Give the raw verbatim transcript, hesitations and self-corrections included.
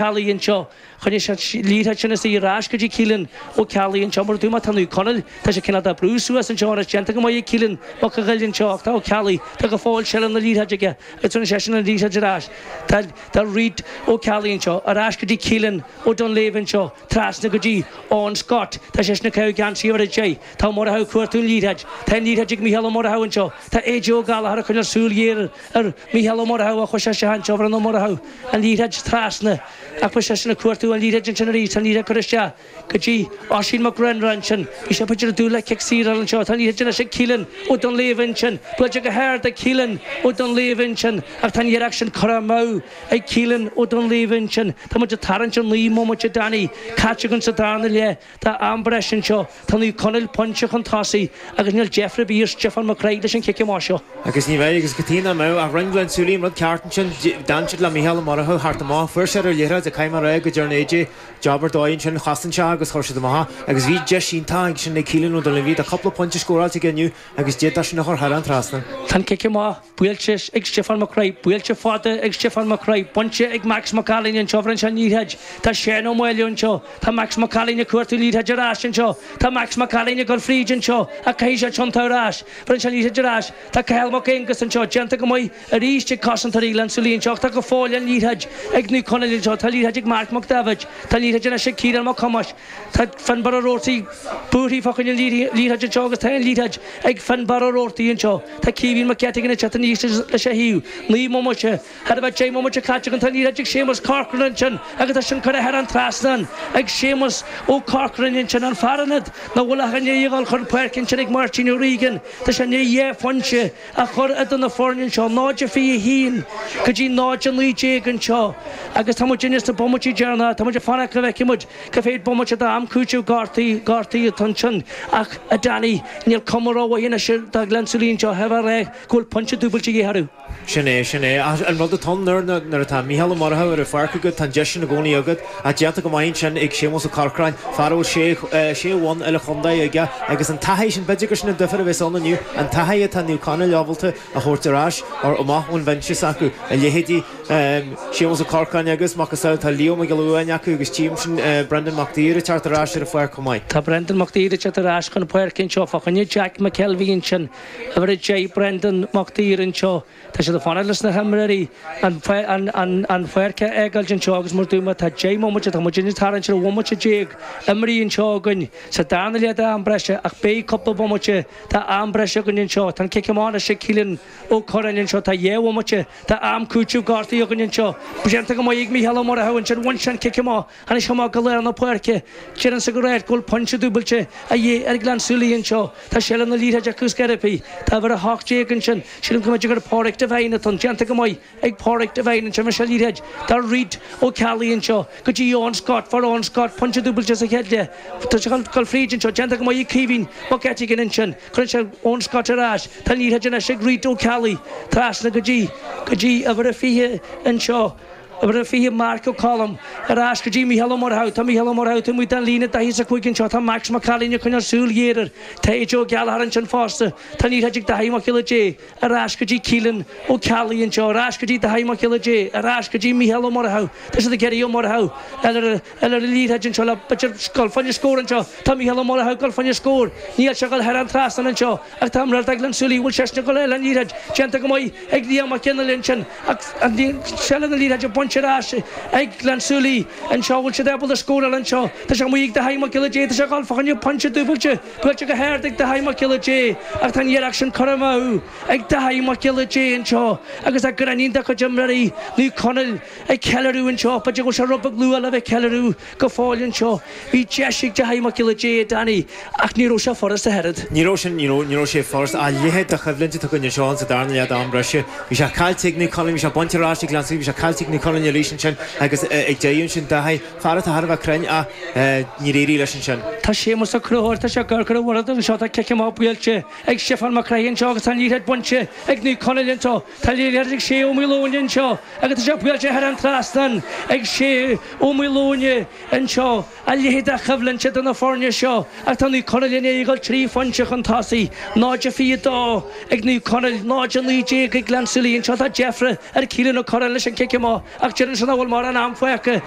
Ceallaigh anseo. Choinnigh sé an liathróid sin is í ar ais go dtí Keelan Ó Ceallaigh anseo. Mar a dúirt mé, tá Naomh Conaill, tá sé cineál de brú suas anseo anois, déanta go maith ag Keelan Mac a' Ghoill anseo ach tá Ó Ceallaigh, tá go fóill seilbh na liathróide aige agus rinne seisean an liathróid ar ais. Tá tá Reid Ó Ceallaigh anseo, ar ais go dtí Keelan Ó Duinnshléibhe anseo, trasna go dtí Eoin Scott, tá seisean ag caitheamh geansaí uimhir a deich. Tá Ó Murchú ag cuartú an liathróid. Tá an liathróid ag Mícheál Ó Murchú anseo. Tá AJ Ó Gallchóir ag coinneáil súil ghéar ar Mhícheál Ó Murchú ach chuir sé isteach anseo, bhronn Ó Murchú an liathróid trasna ach beidh seisean ag cuartú an liathróid ansin arís. Tá an liathróid curtha isteach go dtí Oisín Mac Réanáin ansin. Bhí sé b'fhéidir ag dúil le cic saor anseo. Tá an liathróid anois ag Keelan Ó Duinnshléibhe ansin. Buailte go hard ag Keelan Ó Duinnshléibhe ansin ach tá an iarracht sin curtha amú ag Keelan Ó Duinnshléibhe ansin. Tá muid ag tarraingt ar naoi mbomaite Danny caite againn sa darna leath de am breise anseo. Tá Naomh Conaill pointe chun tosaigh agus níl deifir ar bith ar Stiofán Mac Craith leis an chic amach seo. Agus ní bheidh, agus cad chuige nach mbeadh, ach rinne Gleann tSúilí an rud ceart ansin, d'fhan siad le Mícheál Ó Murchú thart amach, fuair sé ar an liathróid ach caithfidh mé a rá go dtearn AJ jab ar dóigh ansin, chosain sé agus chuir siad amach é agus bhí deis iontach ansin ag Keelan Ó Duinnshléibhe, tá cúpla pointe scóráilte aige inniu agus d'fhéadfadh sin a chur thar an trasnán. Tá an cic amach buailte ag Stiofán Mac Craith, buailte fada ag Stiofán Mac Craith, bainte ag Max Mac Ailín anseo, bhronn sé an liathróid, tá Seán Ó Máille anseo, tá Max Mac Ailín ag cuartú liathróid ar ais anseo, tá Max Mac Ailín ag dul fríd anseo ach caithfidh sé tiontú ar ais, bhronn sé an liathróid ar ais, tá Cathal Mac Aonghus anseo, déanta go maith arís ag cosantóirí Ghleann tSúilí anseo ach tá go fóill an liathróid ag Naomh Conaill anseo, tá liathróid ag Marc Mac Daibhéid, tá liathróid anois ag Ciarán Mac Thomáis, tá Fionnbarra Ó Roarty buartha fá choinne an liathróid anseo agus tá an liathróid ag Fionnbarra Ó Roarty anseo, tá Caoimhín Mac Eiteagáin ag teacht aníos leis a thaobh, naoi mbomaite, thar a bheith deich mbomaite caite againn, tá an liathróid ag Séamus Corcoran ansin agus tá sin curtha thar an trasnán ag Séamus Ó Corcorain ansin, an fear ionaid nach bhfuil ach i ndiaidh a dhul chun páirce ansin ag Máirtín Ó Riagáin, tá sé i ndiaidh dhá phointe a chur idir na foirne anseo, náid a fiche a haon go dtí náid a naoi déag anseo agus tá muid sna bomaití deireanacha, tá muid ag fanacht go bhfeicfidh muid cá mhéad bomaite d'am cúitimh gortaithe, gortaithe atá ansin ach a Danny, níl cuma rómhaith anois do Ghleann tSúilí anseo, thar a bheith go bhfuil pointe dúbailte de dhíth orthu. Sin é, sin é. Ach an rud atá ann nuair, nuair atá Mícheál Ó Murchú ar an pháirc agat, tá an deis sin i gcónaí agat. Ach déanta go maith ansin ag Séamus Ó Corcráin, fear a bhfuil sé, sé bhonn uile-chontae aige agus an taithí sin, b'fhéidir gur sin an difear a bheas ann inniu, an taithí atá Naomh Conaill ábalta a thabhairt ar ais, or amach ón bhinse s'acu. A leithéidí Séamus Ó Corcráin agus macasamhail tá Leo Mac Giolla Uain acu agus tchím sin Brendan Mac Duibhir ag teacht ar ais ar an pháirc chomh maith. Tá Brendan Mac Duibhir ag teacht ar ais chun páirce anseo fá choinne Jack McKelvey ansin. Uimhir a deich Brendan Mac Duibhir anseo. Tá siad ag fanacht leis na himreoirí an an pháirc a fhágáilt anseo agus mar dúirt mé tá deich mbomaite, tá muid ag tarraingt ar bhomaite déag imeartha anseo againn sa darna leath d'am breise ach beidh cúpla bomaite de am breise againn anseo. Tá an cic amach anois ag Keelan Ó Curráin anseo. Tá dhá bhomaite de am cúitimh gortaithe againn anseo. Déanta go maith ag Mícheál Ó Murchú ansin. Bhain sé an cic amach. Tháinig sé amach go lár na páirce. Deirimse go raibh go bhfuil pointe dúbailte a dhíth ar Ghleann tSúilí anseo. Tá seilbh na liathróide acu scor ar bith. Tá uimhir a hocht déag ansin. Sílim go mb'fhéidir gur Pádraig Devine atá ann. Déanta go maith ag Pádraig Devine ansin. Bhain sé an liathróid do Reid Ó Ceallaigh anseo go dtí Eoin Scott. Fuair Eoin Scott pointe dúbailte sa chéad leath. Tá sé ag dul fríd anseo. Déanta go maith ag Caoimhín Mac Eiteagáin ansin. Cuireann sé Eoin Scott ar ais. Tá an liathróid anois ag Reid Ó Ceallaigh trasna go dtí go dtí uimhir a fiche anseo. Uimhir a fiche Marc Ó Colm ar ais go dtí Mícheál Ó Murchú. Tá Mícheál Ó Murchú taobh amuigh den líne daichead is a cúig anseo. Tá Max Mac Ailín ag coinneáil súil ghéar air. Tá AJ Ó Gallchóir ansin fosta. Tá an liathróid ag Daithí Mac Giolla Dé ar ais go dtí Keelan Ó Ceallaigh anseo. Ar ais go dtí Daithí Mac Giolla Dé. Ar ais go dtí Mícheál Ó Murchú. Tá siad ag iarraidh Ó Murchú ar ar an liathróid anseo le b'fhéidir dul fá choinne scór anseo. Tá Mícheál Ó Murchú ag dul fá choinne scór. Níl sé ag dul thar an trasnán anseo ach tá imreoir de Ghleann tSúilí. Bhfuil seisean ag dul ar an liathróid? Déanta go maith ag Liam Mac Fhionnghaile ansin ach seilbh na liathróide bainte ar ais ag Gleann tSúilí anseo. Bhfuil siad ábalta scóráil anseo? Tá sé amuigh ag Daithí Mac Giolla Dé. Tá sé ag dul fá choinne pointe dúbailte. Buailte go hard ag Daithí Mac Giolla Dé ach tá an iarracht sin curtha amú ag Daithí Mac Giolla Dé anseo agus tá gráinnín de chuid imreoirí Naomh Conaill ag ceiliúradh anseo. B'fhéidir go bhfuil sé rud beag luath le bheith ag ceiliúradh go fóill anseo. Bhí deis ag Daithí Mac Giolla Dé, a Danny, ach ní raibh sé furasta ach oiread. Ní raibh sin, ní raibh, ní raibh sé furasta. A leithéid de choimhlint atá againn anseo sa darna leath d'am breise. Bhí sé caillte ag Naomh Conaill, bhí sé bainte ar ais ag Gleann tSúilí, bhí sé caillte ag Naomh Conaill arís ansin agus ag deireadh ansin Daithí, fear atá thar a bheith cruinn ach níor éirigh leis ansin. Tá Séamus Ó Conchúir, tá sé ag amharc ar an bhord anseo, tá cic amach buailte ag Stiofán Mac Craith anseo agus tá an liathróid bainte ag Naomh Conaill anseo. Tá liathróid ag Shay Ó Maoileoin anseo agus tá sé buailte thar an trasnán ag Shay Ó Maoileoin anseo. A leithéid de choimhlint idir na foirne seo ach tá Naomh Conaill i ndiaidh a dhul trí phointe chun tosaigh, náid a fiche dó ag Naomh Conaill, náid a naoi déag ag Gleann tSúilí anseo. Tá deifre ar Keelan Ó Curráin leis an cic amach ach Ach deireann sé nach bhfuil mórán am fágtha agus